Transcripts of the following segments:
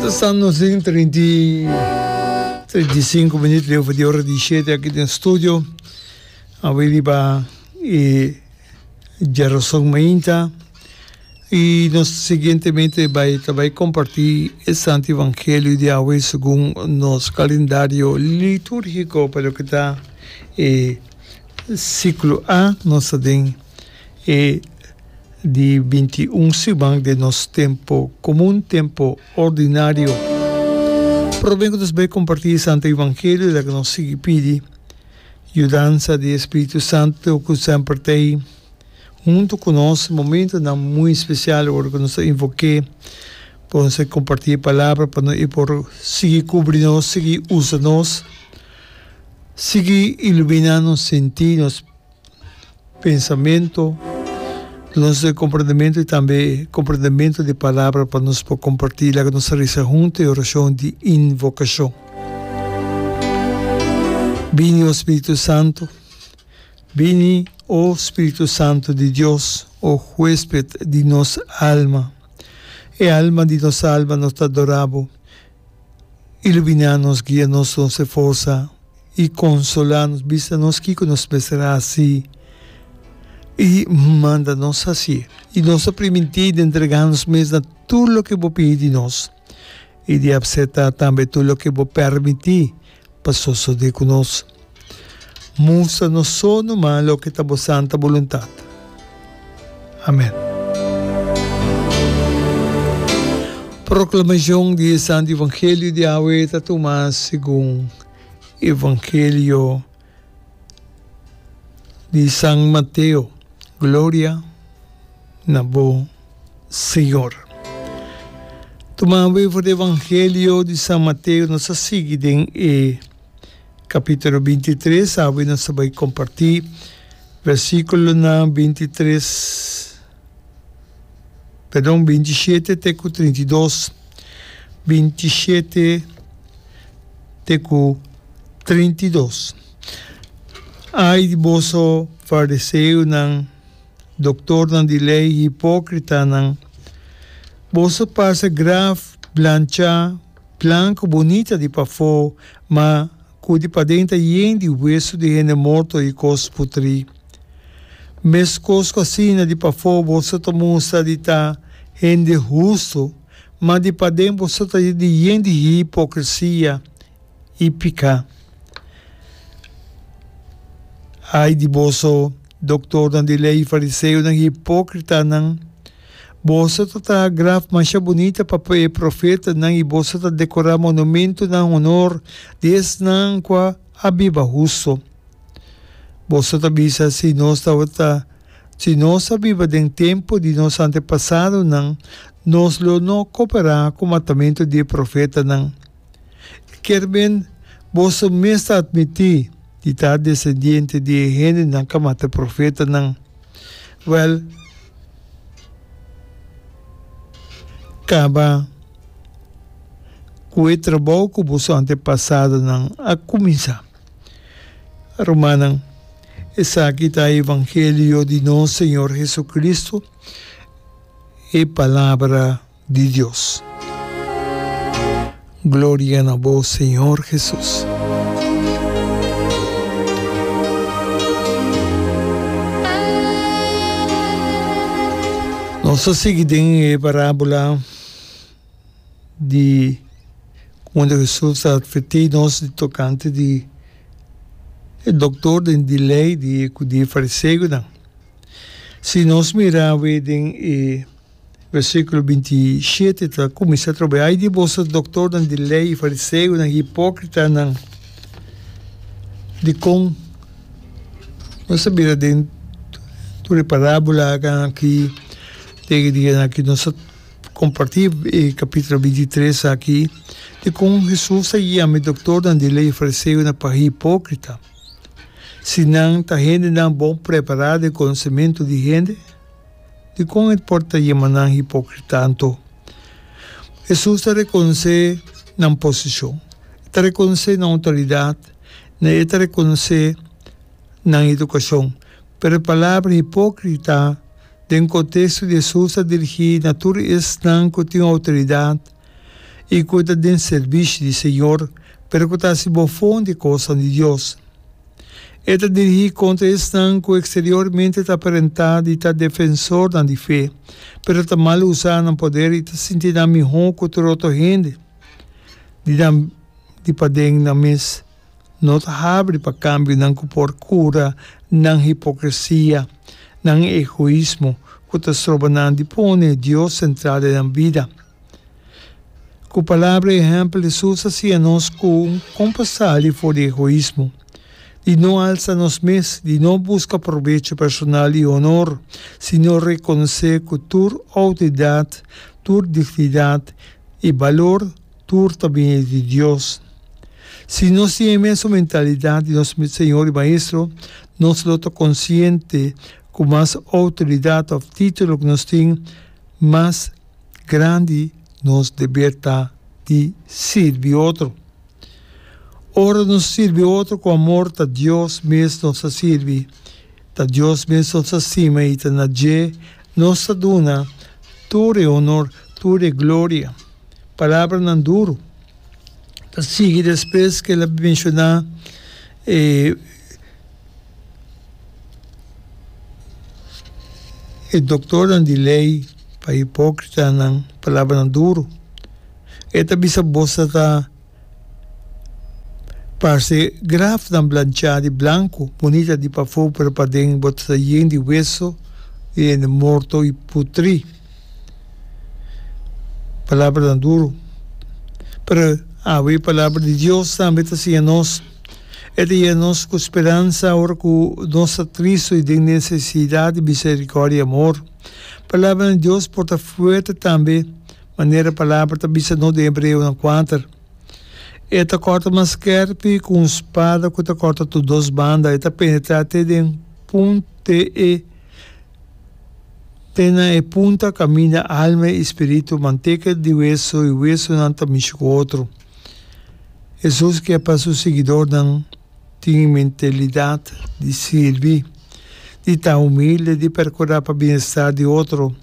Staan nos den 35 minuut leu voor di ora di shete aki den studio. Awe riba e djarason mainta y nos siguientemente bai ta bai comparti e Santo Evangelio di awe segun nos calendario liturgico pa loke ta e ciclo A. Nos ta den e di 21 siman den nos tempo comun, tempo ordinario. Prome cu nos bai comparti e Santo Evangelio laga nos sigui pidi Yudansa di e Spiritu Santu ku semper ta ei huntu ku nos momentunan muy spesial ora ku nos ta invok'é pa nos a kompartí e palabra pa e por sigui kubri nos, sigui usa nos, sigui iluminá nos sentí, nos pensamentu, nos komprendementu i tambe komprendementu di palabra pa nos por kompartí. Laga nos a resa huntu e orashon di invokashon. Bini, o Spiritu Santu, bini, o Spiritu Santu di Dios, o huesped di nos alma. E alma di nos alma nos ta adorá bo. Iluminá nos, guia nos, nos e forsa i konsolá nos. Bisa nos kiko nos mester hasi i manda nos hasié. I nos ta primintí di entregá nos mes na tur loke bo pidi di nos i di apseptá tambe tur loke bo permití pa sosodé ku nos. Mustra nos so numa loke ta bo santa boluntat. Amen. Proklamashon di e Santu Evangelio di awe ta tuma segun Evangelio di San Mateo. Gloria na bo, Señor. Tuma awe for di Evangelio di San Mateo nos a sigui den e Capítulo 23, awe nos ta bai comparti versiculonan 23, perdon, 27 te cu 32, 27 te cu 32. Ai di boso fariseonan, doctornan di ley, hipocritanan! Boso parse graf blancha Blanku bunita di pafó, ma ku di paden ta yen di wesu di hende morto i kos putrí. Meskos ku asina di pafó boso ta mustra di ta hende hustu, ma di paden boso ta di yen di hipokresia i piká. Ai di boso, doktornan di lei i fariseonan hipókritanan! Boso ta traha graf masha bunita pa e profetanan i boso ta dekorá monumentunan honor di esnan ku a biba hustu. Boso ta bisa, Si nos tabata, si nos a biba den tempu di nos antepasadonan, nos lo no koperá ku matamentu di e profetanan. Kier men, boso mes ta atmití di ta desendiente di e hendenan ku a mata e profetanan. Wèl, kaba ku e trabou ku boso antepasadonan a kuminsá. Rumannan, esaki ta e evangelio di nos Señor Jesucristo, e Palabra di Dios. Gloria na bo Señor Jesus. Nos ta sigui den e parábola di unda Jesus ta advertí nos di tokante di e doktor den di lei di ku di e fariseonan. Si nos mira awe den e Versíkulo 27 ta kuminsá atrobe, Ai di boso doktornan di lei i fariseonan, hipókritanan! Dikon nos a bira den tur e parábola aki den e dianan aki? Nos a kompartí e kapítulo 23 aki, dikon Hesus a yama e doktornan di lei i fariseonan pa hipókrita, si nan ta hendenan bon prepará den konosementu di hende? Dikon e por ta yama nan hipokrita anto? Hesus ta rekonosé nan posishon, e ta rekonosé nan outoridat, e ta rekonosé nan edukashon. Pero e palabra hipokrita den konteksto di Hesus ta dirigí na tur esnan ku tin outoridat. i ku ta den sirbishi di Señor, pero ku ta hasi bofon di kosnan di Dios. E ta dirigí kontra esnan ku eksteriormente ta aparentá di ta defensornan di fe, pero ta mal usá nan poder i ta sinti nan mihó ku tur otro hende. Di nan di paden nan mes no ta habri pa kambionan ku por kura nan hipokresia, nan egoismo ku ta stroba nan di pone Dios sentral den nan bida. Ku palabra i ehèmpel Hesus a siña nos ku kon pa sali for di egoismo, di no alsa nos mes, di no buska probecho personal i honor, sino rekonosé ku tur outoridat, tur dignidat i balor tur ta bini di Dios. Si nos tin e mesun mentalidat di nos Señor i Maestro, nos lo ta konsiente ku mas outoridat òf título ku nos tin, mas Grandi nos deber ta di sirbi otro. Ora nos sirbi otro ku amor ta Dios mes nos ta sirbi, ta Dios mes nos ta stima i ta na dje nos ta duna tur e honor, tur e gloria. Palabranan duru ta sigui despues ku el a menshoná e. E doktornan di lei pa hipókritanan palabranan duru. E ta bisa boso ta parse grafnan blanchá di blanku, bunita di pafó, pero paden bo ta yen di weso di hende morto i putrí. Palabranan duru. Pero awe e palabra di Dios tambe ta siña nos. E ta yena nos ku speransa ora ku nos ta tristu i den nesesidat di miserikòrdia i amor. Palabranan di Dios por ta fuerte tambe, manera e palabra ta bisa nos den Hebreonan kuater. E ta kòrta mas skèrpi ku un spada ku ta kòrta tur dos banda, e ta penetrá te den te e te na e punta kaminda alma i spiritu, manteka di weso i wesonan ta mishi ku otro. Hesus ke pa su siguidornan tin e mentalidat di sirbi, di ta humilde, di perkurá pa bienestar di otro.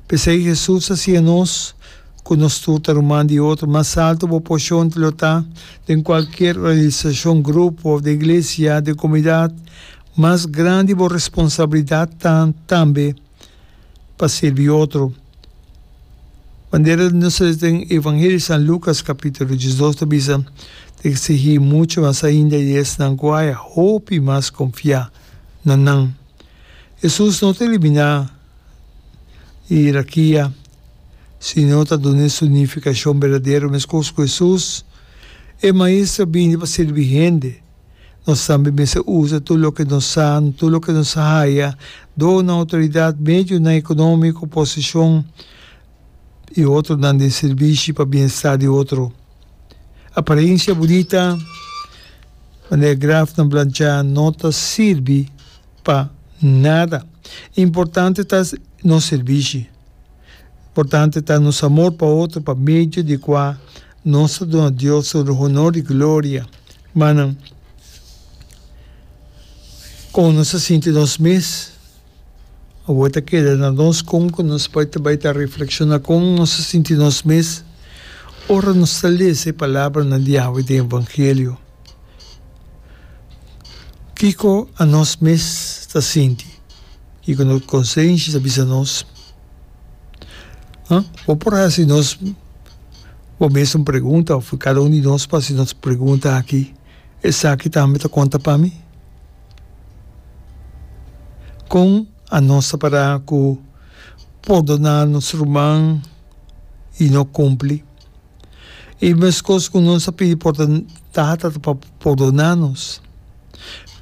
P'esei Hesus a siña nos ku nos tur ta ruman di otro. Mas altu bo poshon lo ta den kualkier organisashon, grupo òf den iglesia, den komunidat, mas grandi bo responsabilidat ta tambe. pa sirbi otro. Manera nos ta den Evangelio di San Lucas capítulo 12 ta bisa, ta exigí mucho mas ainda di esnan cu haya hopi mas confiá na nan. Hesus no ta eliminá hierarkia, sino ta dun'é su nificacion berdadero. Mescos cu Hesus, e Maestro a bini pa sirbi hende. Nos tambe mester usa tur loke nos sa, tur loke nos a haya dor nan outoridat, medionan ekonómiko, posishon i otronan den sirbishi pa bienestar di otro. Aparensia bunita, manera grafnan blanchá, no ta sirbi pa nada. Importante ta nos sirbishi. Importante ta nos amor pa otro pa medio di kua nos ta duna Dios tur honor i gloria. Hermannan, kon nos ta sinti nos mes? Awor ta keda na nos kon ku nos por ta bai ta reflekshoná kon nos ta sinti nos mes ora nos ta lesa e palabranan di awe den Evangelio. Kiko anos mes ta sinti? Kiko nos konsenshi ta bisa nos? Bo por hasi nos bo mes un pregunta òf kada un di nos por hasi nos pregunta aki, Esaki tambe ta konta pa mi? Kon anos ta pará ku pordoná nos ruman i no kumpli? I meskos ku nos a pidi Tata pa pordoná nos,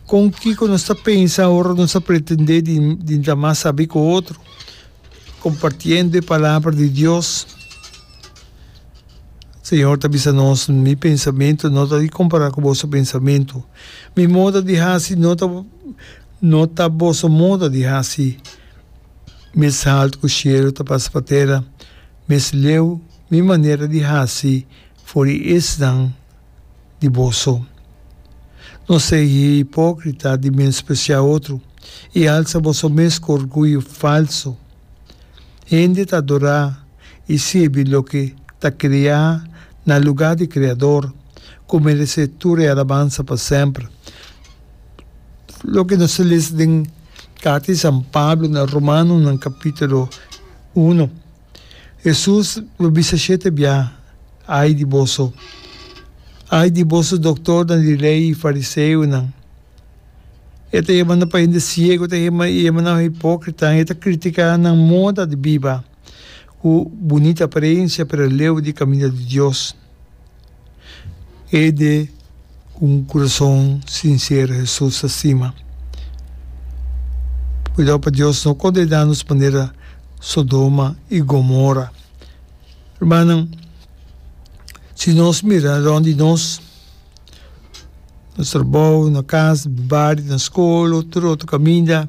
kon kiko nos ta pensa ora nos ta pretendé di ta mas sabí ku otro, kompartiendo e Palabra di Dios? Señor ta bisa nos, Mi pensamentu no ta di kompará ku boso pensamentu, mi moda di hasi no ta no ta boso moda di hasi. Mes haltu ku shelu ta pasa pa tera, mes leu mi manera di hasi for di esnan di boso. No sea hipókrita di menospresiá otro i alsa boso mes ku orguyo falso. Hende ta adorá i sirbi loke. ta kreá na lugá di Kreador, ku meresé tur e alabansa pa semper. Loke nos ta lesa den Karta di San Pablo na Romanonan kapítulo uno. Hesus lo bisa shete bia, Ai di boso! Ai di boso doktornan di lei i fariseonan! E ta yama nan pa hende siego, e ta yama nan hipókritanan, e ta kritiká nan moda di biba ku bunita aparensia pero leu di kaminda di Dios. Hende ku un kurason sinsero Hesus ta stima. Kuidou pa Dios no kondená nos manera Sodoma i Gomora. Rumannan, si nos mira rònt di nos, nos trabou, na kas, bario, na skol, tur otro kaminda,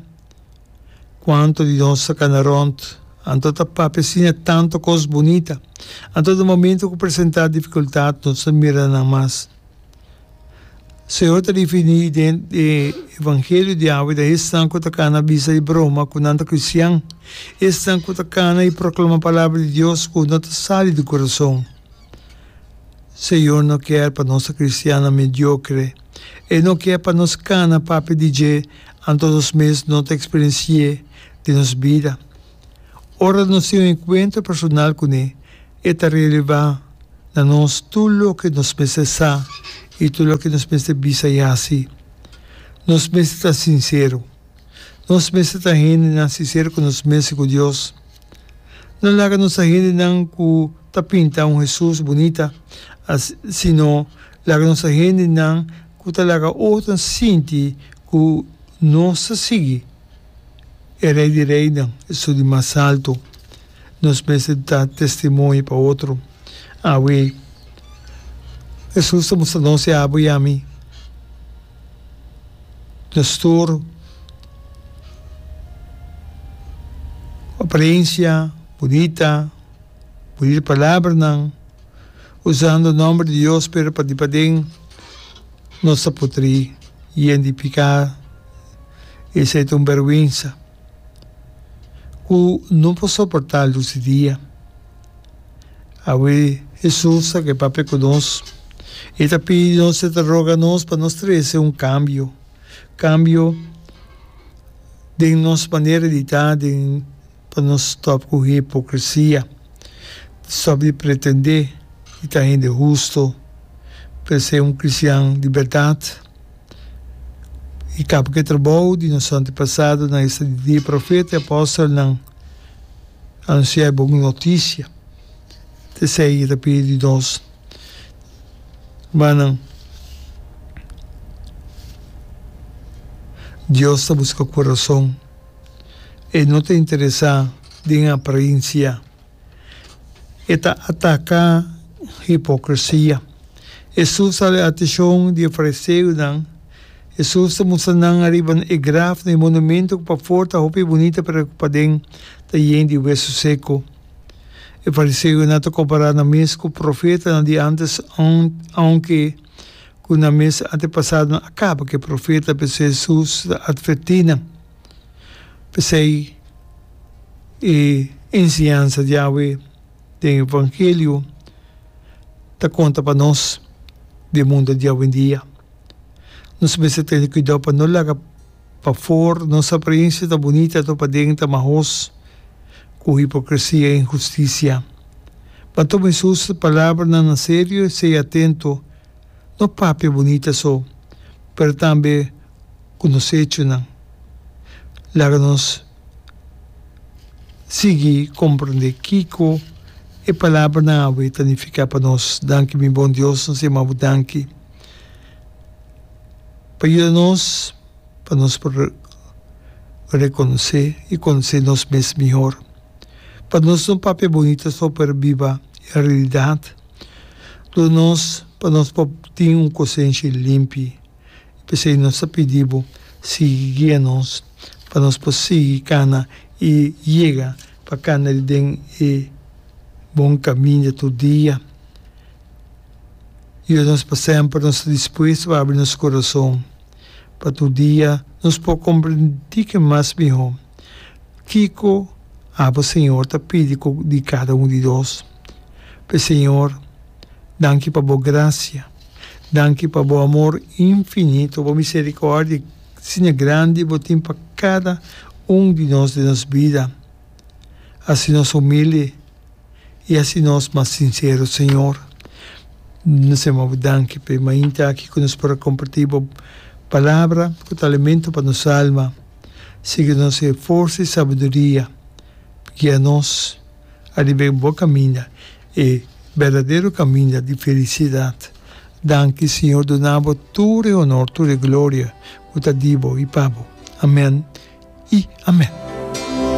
Cuanto di nos ta cana rond, anto ta papia asina tanto cos bunita. Anto na momento cu presenta dificultad nos ta mira nan mas. Señor ta refini den e Evangelio di awe ta esnan cu ta cana bisa y broma cu nan ta cristian, esnan cu ta cana y proclama palabra di Dios cu no ta sali di curason. Señor no kier pa nos ta cristiannan mediocre. E no kier pa nos cana papia di dje anto nos mes no ta eksperensi'é den nos bida. Ora nos tin un enkuentro personal kuné, e ta relevá na nos tur loke nos mester sa i tur loke nos mester bisa i hasi. Nos mester ta sinsero. Nos mester ta hendenan sinsero ku nos mes i ku Dios. No laga nos ta hendenan ku ta pinta un Hesus bunita, sino laga nos ta hendenan ku ta laga otronan sinti ku nos ta sigui e Rei di Reinan, esun di mas altu. Nos mester ta testimonio pa otro. Awe, Hesus ta mustra nos i abo i ami, nos tur aparensia bunita, bunita palabranan, usando nomber di Dios pero pa di paden nos ta putri yen di piká. Esei ta un bèrgwensa ku no por soportá lus di dia. Awe Hesus ta ke papia ku nos. E ta pidi nos, e ta roga nos pa nos trese un kambio, kambio den nos manera di ta, den. Pa nos stòp ku hipokresia, stòp di pretendé di ta hende hustu, pero ser un kristian di bèrdat i kaba ku e trabou di nos antepasadonan, esta di e profeta i apòstelnan, anunsiá e bon notisia. Ta esei e ta pidi di nos, rumannan. Dios ta buska kurason. E no ta interesá den aparensia. E ta ataká hipokresia. Hesus a hala atenshon di e fariseonan. Hesus ta mustra nan ariba e graf na e monumento ku pafor ta hopi bunita pero ku paden ta yen di wesu seku. E fariseonan ta kompará nan mes ku profetanan di ántes ounke ku nan mes antepasadonan a kaba ku e profeta, p'esei Hesus ta atvertí nan. P'esei e enseñansa di awe den Evangelio ta konta pa nos den mundo di awendia. Nos mester tene kuidou pa no laga pafor nos aparensia ta bunita anto paden ta mahos ku hipokresia i inhustisia. Ban tuma Hesus su palabranan na serio i sea atento, no papia bunita so, pero tambe ku nos echonan. Laga nos sigui komprendé kiko e palabranan awe ta nifiká pa nos. Danki mi bon Dios, nos yama bo danki pa yuda nos pa nos por rekonosé i konosé nos mes mihor. Pa nos no papia bunita so pero biba e realidat. Duna nos pa nos por tin un kosenshi limpi. P'esei nos ta pidi bo sigui guia nos pa nos por sigui kana i yega pa kana den e bon kaminda tur dia. Yuda nos pa semper nos ta dispuesto pa abri nos kurason pa tur dia nos por komprendí ke mas mihó kiko abo Señor ta pidi di kada un di nos. Pe Señor, danki pa bo gracia, danki pa bo amor infinito, bo misericordia asina grandi bo tin pa cada un di nos den nos bida. Haci nos humilde y haci nos mas sincero, Señor. Nos yama bo danki pa e mainta aki cu nos por a comparti bo palabra cu ta alimento pa nos alma. Sigui nos e forsa y sabiduria guia nos ariba e bo caminda, e berdadero caminda di felicidad. Danki Señor duna bo tur e honor, tur e gloria cu ta di bo y pa bo. Amen y amen.